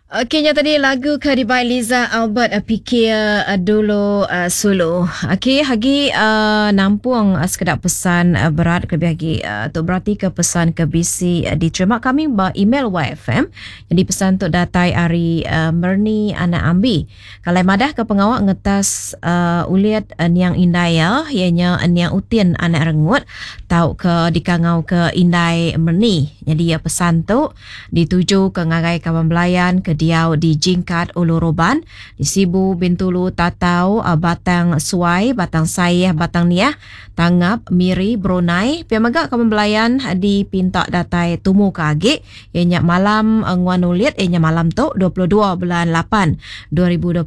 Okey nya tadi lagu ke dibai Liza Albert eh, pikir eh, dulu eh, sulu. Okey agi uh, nampung uh, sekeda pesan uh, berat kelebih agi uh, tu berarti ke pesan ke bisi uh, diterima kami ba email YFM. Jadi pesan tu datai ari uh, Merni Anak Ambi. Kalai madah ke pengawa ngetas uh, ulit uh, niang indai iya, iya nya niang Utin anak Rengut tauka dikangau ke indai Merni. Nyadi iya pesan tu dituju ke ngagai kaban belayan ke diau di Jingkat Ulu Roban, di Sibu, Bintulu, Tatau, uh, Batang Suai, Batang Sayeh, Batang Niah, Tangap, Miri, Brunei. Pia mega kaban belayan dipinta datai tumu ke agi iya nya malam nguan ulit iya nya malam tu 22 bulan 8 2026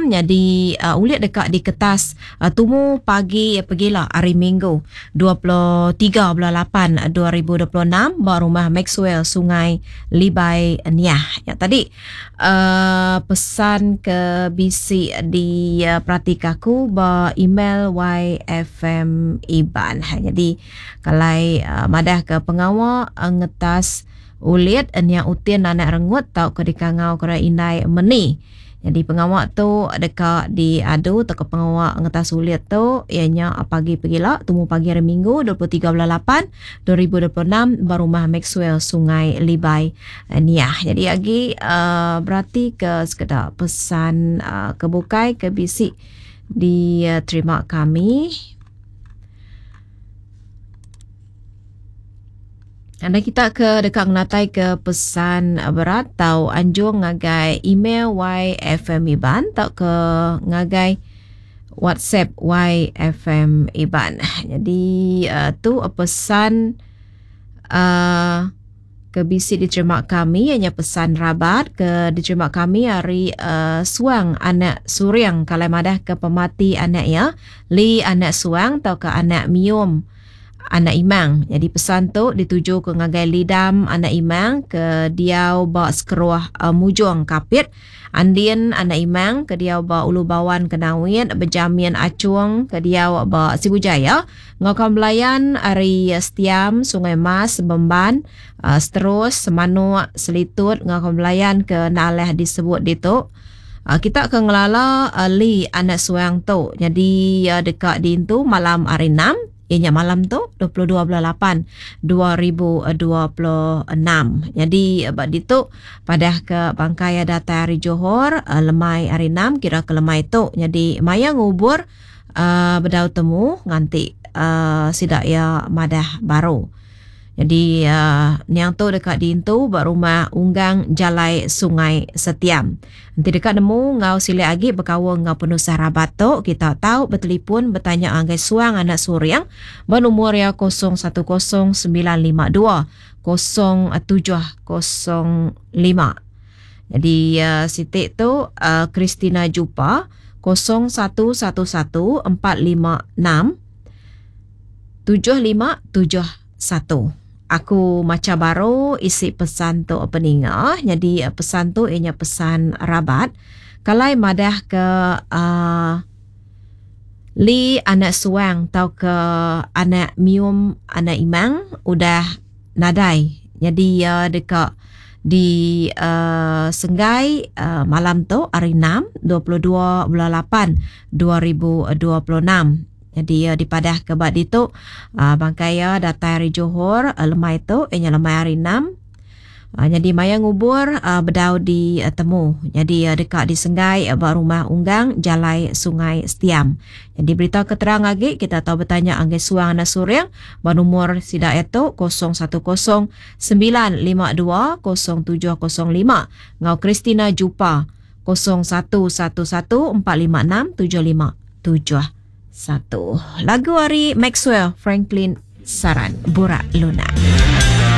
nyadi uh, ulit deka diketas uh, tumu pagi pegila hari Minggu 23 bulan 8 2026 ba rumah Maxwell Sungai Libai Niah. Ya tadi uh, pesan ke bisi di uh, peratika aku ba email YFM Iban. Jadi Kalai madah ke pengawa ngetas ulit nia utin anak rengut tauka dikangau ke indai meni. Nyadi pengawa tu deka diadu tauka pengawa ngetas ulit tu iya nya pagi pegila tumu pagi hari Minggu 23 bulan 8 2026 ba rumah Maxwell Sungai Libai Niah. Nyadi agi uh, berati ke sekeda pesan uh, ke bukai ke bisi diterima kami. Anda kita ke deka ngenatai ke pesan berat tau anjung ngagai email YFM Iban tau ke ngagai WhatsApp YFM Iban. Jadi uh, tu pesan uh, ke bisi diterima kami iya nya pesan rabat ke diterima kami ari uh, Suang anak Suring kalai madah ke pemati anak iya Lee anak Suang tauka anak Mium anak Imang. Jadi pesan tu dituju ke ngagai Lidam anak Imang ke diau ba Sekeruh uh, Mujong Kapit. Andin anak Imang ke diau ba Ulu Bawan Kenawit, Bejamin Achung ke diau ba Sibu Jaya, enggau kaum belayan ari Setiam, Sungai Mas, Bemban, Seterus, Semanuk, Selitut enggau kaum belayan ke enda alah disebut ditu. Kita ke ngelala Lee anak Suang tu nyadi iya deka diintu malam hari Enam. Iya nya malam tu 22 bulan 8 2026. Nyadi ba ditu padah ke bangkai iya datai ari Johor uh, lemai hari 6 kira ke lemai tu. Nyadi maya ngubur uh, bedau temu nganti uh, sida iya madah baru. Nyadi uh, niang tu deka diintu ba rumah Unggang Jalai Sungai Setiam. Enti deka nemu enggau silik agi bekaul enggau penusah rabat tu, kita tau betelipun betanya ngagai Suang Anak Suring ba lumur iya 010 952 0705. Nyadi uh, siti tu uh, Christina Jupa 0111 456 7571. Aku macha baru isi pesan tu peninga. Nyadi pesan tu iya nya pesan rabat. Kalai madah ke uh, Lee anak Suang tauka anak Mium anak Imang udah nadai. Nyadi iya deka di uh, senggai uh, malam tu hari 6 22 bulan 8 2026. Nyadi iya dipadahka ba ditu bangkai iya datai ari Johor lemai tu iya nya lemai hari enam. Nyadi maya ngubur bedau ditemu. Nyadi iya deka disenggai ba rumah Unggang Jalai Sungai Setiam. Nyadi berita ke terang agi kita tau betanya ngagai Suang Anak Suring ba numur sida iya tu 010 952 0705 enggau Christina Jupa 0111 456 7571. Lagu ari Maxwell Franklin Saran Burak Lunak.